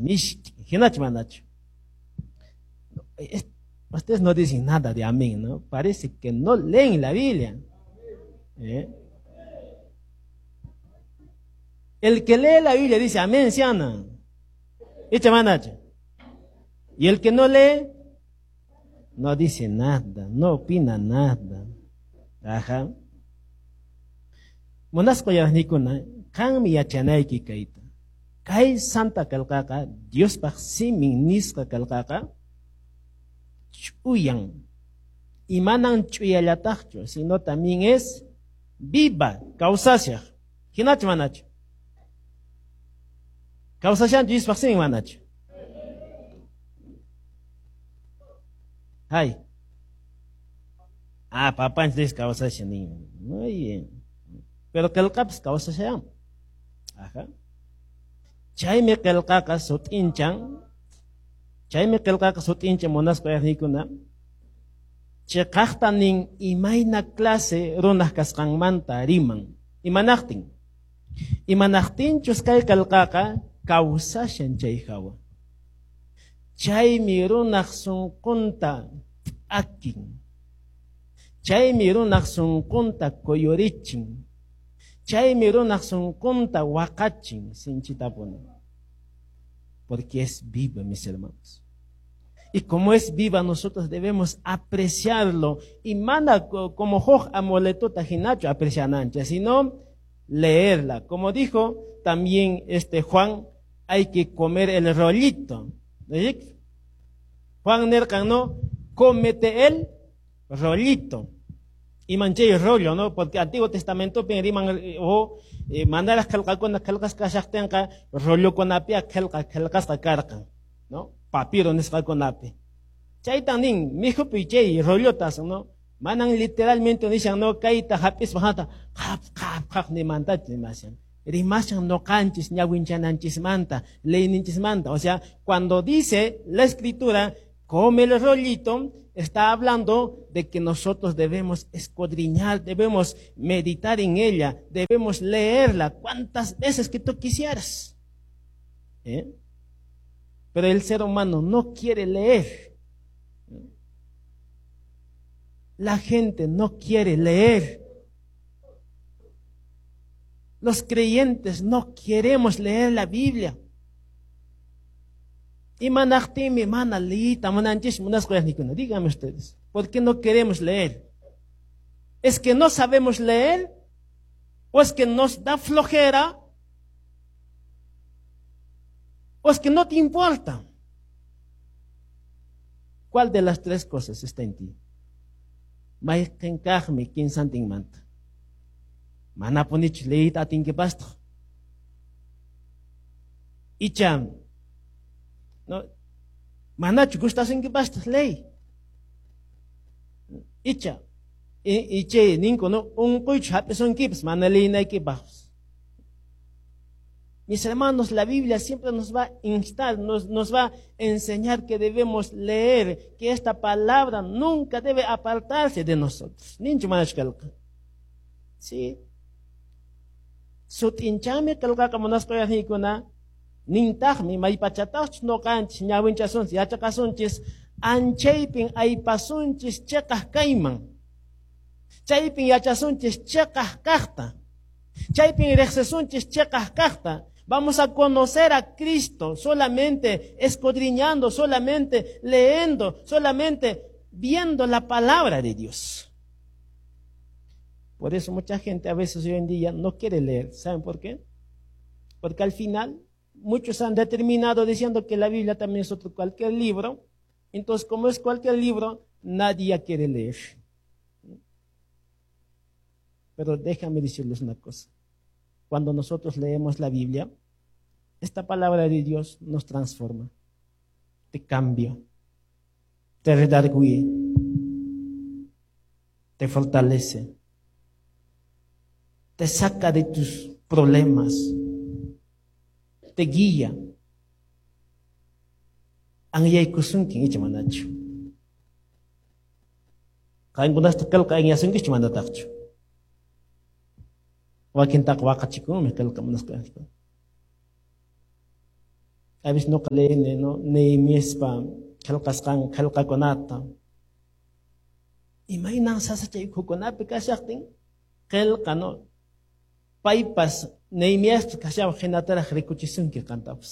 Mishki, hinachu manachu. Ustedes no dicen nada de amén, ¿no? Parece que no leen la Biblia. ¿Eh? El que lee la Biblia dice amén, ¿sí o no? Y el que no lee, no dice nada, no opina nada. Ajá. Munasqa uyariqniykuna, qanmi yachanayki kayta. Kay santa qillqaqa, Diospaq simin nisqa qillqaqa, ch'uyan. Y manan ch'uyallataqchu, sino también es viva, kawsashaq. Hinachu manachu? Kawsashanchu Diospaq simin manachu? Hay. Ah, papanchis dice kawsashan nin. Muy bien. Pero qillqapas kawsashan. Ajá. Chaymi qillqaqa sut'inchan. Chaymi qillqaqa sut'inchan munasqa uyariqniykuna. Chiqaqta nin imayna clase runaq kasqanmanta riman. Imanaqtin. Imanaqtinchus kay qillqaqa kawsashan chay hawa. Chaymi runaq sunqunta p'akin. Chaymi runaq sunqunta kuyurichin. Chaymi runaq sunqunta waqachin sinchitapuni. Porque es viva, mis hermanos. Y como es viva, nosotros debemos apreciarlo. Y mana como huk amuletota hinachu apreciananchis, sino leerla. Como dijo también Juan, hay que comer el rollito. ¿Sí? Juan nirqan, no, cómete el rollito. Y manchay rollo, ¿no? Porque Antiguo Testamento riman o mandaras qillqakuna qillqasqa kashaqtinqa rollokunapia qillqa qillqasqa karqan, ¿no? Papiro nisqakunapi. Chaytan nin mikhupi chay rollotas, ¿no? Manan literalmente nishan, no, kayta hap'ispa hata qhap qhap qhap nimantachu rimashan. Rimashan noqanchis ñawinchananchismanta, leyninchismanta. O sea, cuando dice la escritura, come el rollito, está hablando de que nosotros debemos escudriñar, debemos meditar en ella, debemos leerla cuantas veces que tú quisieras. ¿Eh? Pero el ser humano no quiere leer. La gente no quiere leer. Los creyentes no queremos leer la Biblia. Imanaqtinmi mana liyta munanchis munasqa uyariqniykuna. Díganme ustedes, ¿por qué no queremos leer? ¿Es que no sabemos leer? ¿O es que nos da flojera? ¿O es que no te importa? ¿Cuál de las tres cosas está en ti? Mayqin kaqmi kinsantinmanta. Manapunichu liyta atinkipastaj. Icha, no, manachu gustasunkipastaj ley. Icha, ichay ninku, no, unquychu hap'isunkipas mana leynaykipaq. Mis hermanos, la Biblia siempre nos va a instar, nos va a enseñar que debemos leer, que esta palabra nunca debe apartarse de nosotros. Ninchu manachu qillqa. Sí. Sut'inchami qillqaqa munasqa uyariqniykuna, nintaqmi maypachataqchus noqanchis ñawinchasunchis, yachaqasunchis, anchaypin aypasunchis chiqaq kayman. Chaypin yachasunchis chiqaq kaqta. Chaypin riqsisunchis chiqaq kaqta. Vamos a conocer a Cristo solamente escudriñando, solamente leyendo, solamente viendo la palabra de Dios. Por eso mucha gente a veces hoy en día no quiere leer. ¿Saben por qué? Porque al final muchos han determinado diciendo que la Biblia también es otro cualquier libro. Entonces, como es cualquier libro, nadie quiere leer. Pero déjame decirles una cosa. Cuando nosotros leemos la Biblia, esta palabra de Dios nos transforma, te cambia, te redarguye, te fortalece, te saca de tus problemas, te guía. Anyaykusunkin icha manachu. Qankunasta qillqa anyasunkichu manataqchu. Wakintaqa waqachikunmi qillqa munasqa. A veces nuqa leyini, no? Nehemiaspa qillqasqan qillqakunata. Imaynan sasachay ukhukunapi kashaqtin qillqa, no? Paypas Nehemiaspas kashawaq hinataraq rikuchisunki qantapas.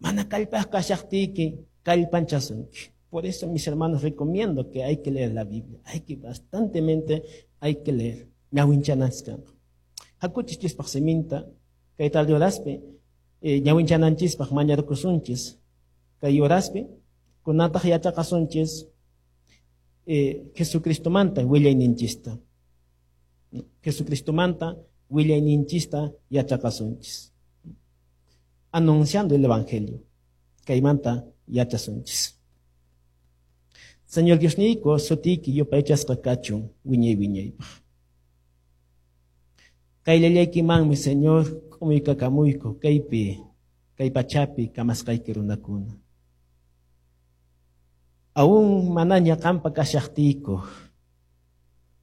Mana kallpaq kashaqtiyki kallpanchasunki. Por eso, mis hermanos, recomiendo que hay que leer la Biblia. Hay que bastantemente hay que leer. Ñawinchananchis kanqa. Hakuchis Diospaq siminta kay tarde horaspi ñawinchananchispaq mañarkusunchis kay horaspi kunataq yachaqasunchis Jesucristomanta willayninchista. Jesucristomanta willayninchista yachaqasunchis. Anunciando el Evangelio. Kaymanta yachasunchis. Señor Diosniyku, sutiyki yupaychasqa kachun wiñay wiñaypaq. Qayllallaykimanmi, Señor, k'umuykakamuyku kaypi, kay pachapi kamasqayki runakuna. Aún manaña qampa kashaqtiyku,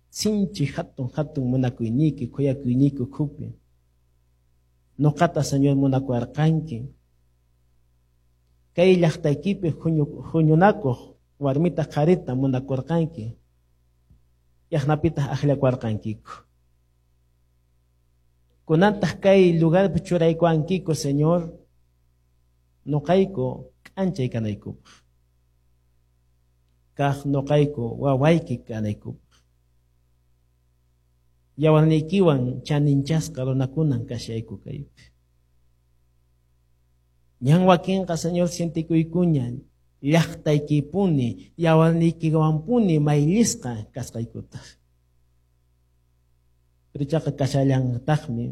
sinchi hatun hatun munakuyniyki, khuyakuyniyki ukhupi. Nuqata, Señor, munakuwarqanki. Kay llaqtaykipi huñunakuq warmita qharita munakurqanki. Yaqnapitaq akllakuwarqankiku. Kunantaq kay lugarpi churaykuwankiku, Señor, nuqayku k'anchay kanaykupaq. Kaq nuqayku wawayki kanaykupaq. Yawarniykiwan chaninchasqa runakunan kashayku kaypi. Ñan wakinqa, Señor, sientikuykuña llaqtaykipuni, yawarniykiwanpuni mayllisqa kasqaykuta. Pero ichaqa kashallantaqmi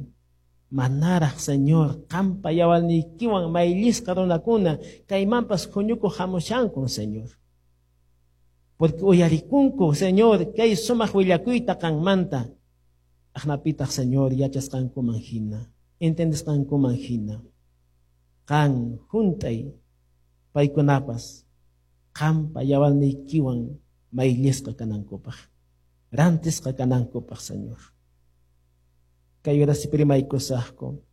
manaraq, Señor, qampa yawarniykiwan mayllisqa runakuna kaymanpas huñukuq hamushankun, Señor. Porque uyarikunku, Señor, kay sumaq willakuyta qanmanta. Aqnapitaq, Señor, yachasqankuman hina, entendesqankuman hina. Qan hunt'ay paykunapas qampa yawarniykiwan mayllisqa kanankupaq, rantisqa kanankupaq, Señor. Kay horaspi rimaykusaqku,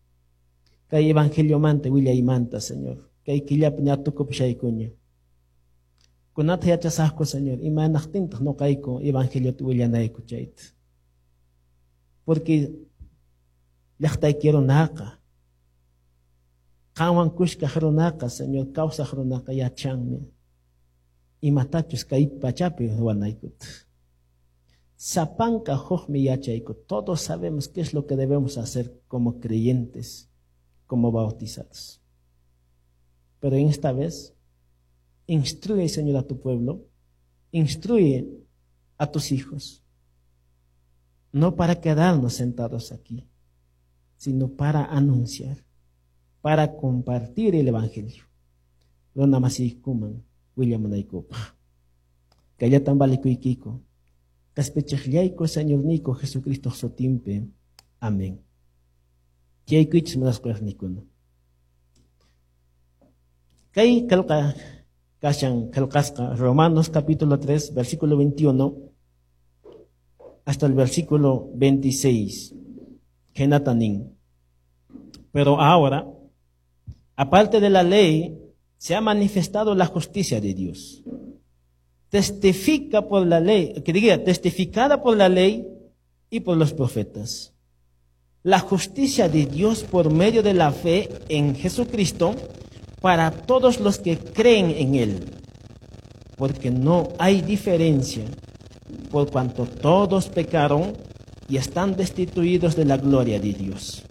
kay evangeliomanta willaymanta, Señor. Kay killapi ña tukupushaykuña. Kunata yachasaqku, Señor, imanaqtintaq nuqayku evangeliota willanayku chayta. Porque llaqtayki runaqa, qanwan kushkaq runaqa, Señor, kawsaq runaqa yachanmi imatachus kay pachapi ruwanaykuta. Sapanka hukmi yachayku. Todos sabemos qué es lo que debemos hacer como creyentes, como bautizados. Pero en esta vez, instruye, Señor, a tu pueblo, instruye a tus hijos, no para quedarnos sentados aquí, sino para anunciar, para compartir el Evangelio. Runa masiykuman willamunaykupaq. Kayllatan valekuykiku. Qhispichiqllayku, Señorniyku Jesucristo sutinpi. Amén. Tiyaykuychis munasqaynikuna. Kay qillqa kashan qillqasqa Romanos capítulo 3, versículo 21 hasta el versículo 26. Khaynata nin. Pero ahora, aparte de la ley, se ha manifestado la justicia de Dios. Testifica por la ley, que diga, testificada por la ley y por los profetas. La justicia de Dios por medio de la fe en Jesucristo para todos los que creen en Él. Porque no hay diferencia, por cuanto todos pecaron y están destituidos de la gloria de Dios,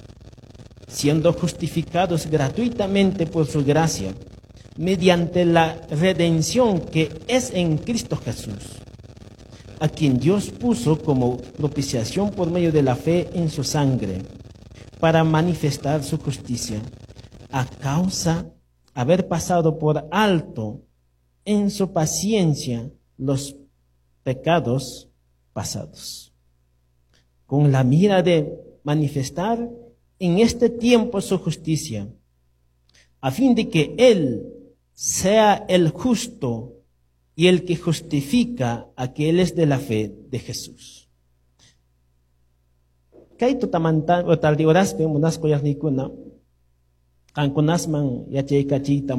siendo justificados gratuitamente por su gracia, mediante la redención que es en Cristo Jesús, a quien Dios puso como propiciación por medio de la fe en su sangre, para manifestar su justicia, a causa haber pasado por alto en su paciencia los pecados pasados, con la mira de manifestar en este tiempo su justicia, a fin de que Él sea el justo y el que justifica a aquellos de la fe de Jesús. Kay tutamanta o tarde horaspi munasqaynikuna. Qankunasman yachaykachiyta.